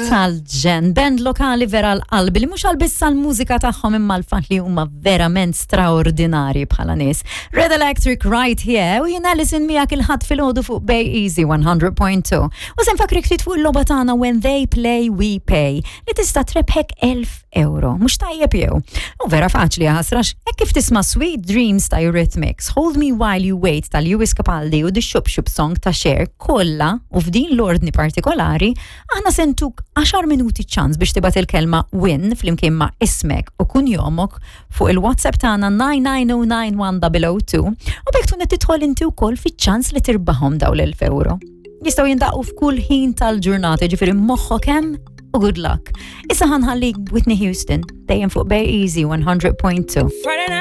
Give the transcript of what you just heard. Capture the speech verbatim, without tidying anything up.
Tal-ġenn, band lokali vera l-qalbi li mhux għal-biss għal-mużika tagħhom imma l-fatt li huma verament straordinari bħala nies. Red Electric right here u jien Alison miegħek il-Ħadd filgħodu fuq Bay Easy one hundred point two. U se nfakkrik ftit fuq il-logħba tagħna When They Play We Pay li tista' trebħek elf euro. Mhux tajjeb jew? U vera faċli ħasrax, hekk kif tisma' Sweet Dreams ta' Eurythmics, Hold Me While You Wait ta' Lewis Capaldi u The Shup Shup Song ta' Cher kollha u f'din l-ordni partikolari, aħna se ntuk għaxar minuti ċans biex tibgħat il-kelma "win" flimkien ma' ismek u kunjomok fuq il-WhatsApp tagħna nine nine zero nine one zero zero two u b'hekk tkun qed tidħol inti wkoll fiċ-ċans li tirbaħhom dawn l-elf euro. Jistgħu jindaqu f'kull ħin tal-ġurnata, ġifieri moħħok hemm u good luck. Issa ħa nħallik Whitney Houston, dejjem fuq Bay Easy one hundred point two. Friday night.